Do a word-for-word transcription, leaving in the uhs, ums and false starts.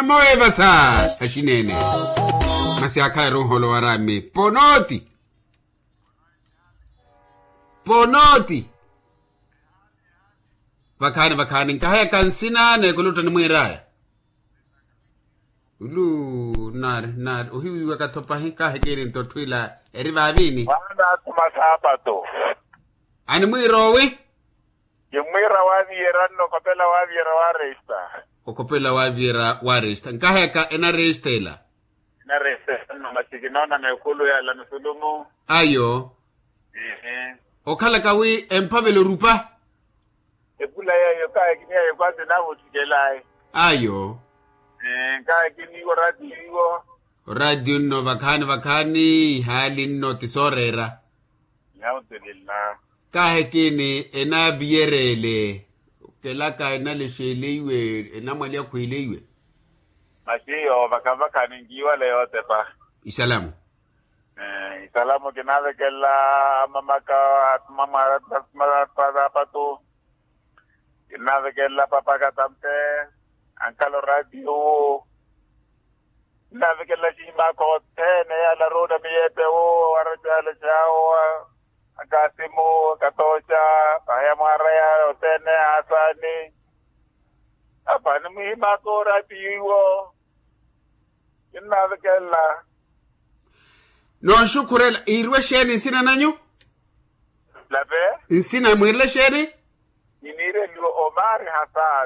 Moevasa. Axineene. Masi akhala eronholo warami ponoti. Ponoti. Vakhaani vakhaani nkahayaka nsina n'ekuluta nimwiiraya. Ulu nari nari ohiwiiwaka-tho pahi kaahikiri nto otthuwila eri vaaviini. Mwaana athuma saapato. Animwiira owi? Kimmwiira waaviyera nno okopela waaviyera waaresta. Okopela waaviyera waaresta nkahayaka enaresta ela. Enaresta ela nno masi kinoona meekulu yala nusulumu. Ayo. Okhalaka wi emphavela orupa. Epula yeeyo kaahikiniya yekwasi naawutthikelaayi. Ayo. Kaahikiniwa oraatiyo iwo. Oraatiyo nno vakhaani vakhaani ihaali nno ti sooreera. Alhamdulillah. Kaahikini enaaviyereele okelaka enalexeeleiwe enamwali akhwiileiwe. Masi iyo vakhavakha ninkiiwale yootepa. Isalamu. Isalamu kinaavekela amamaka atuma mwaara atuma saapatu. Kinaavekela papa katampe ankhala oraatiyo. Kinaavekela axihimaka othene yaala aruuna miyeepe wo waracaala cawo. Akasimu akatooca pahaya mwaaraya othene ahasaani. Apa animwihimaka oraatiyo iwo. Kinnaavekelela. Noonxukhurela iirwe xeeni nsina nanyu? Lape. Nsina mwiirele xeeni? Kiniireliwa omari hasaani.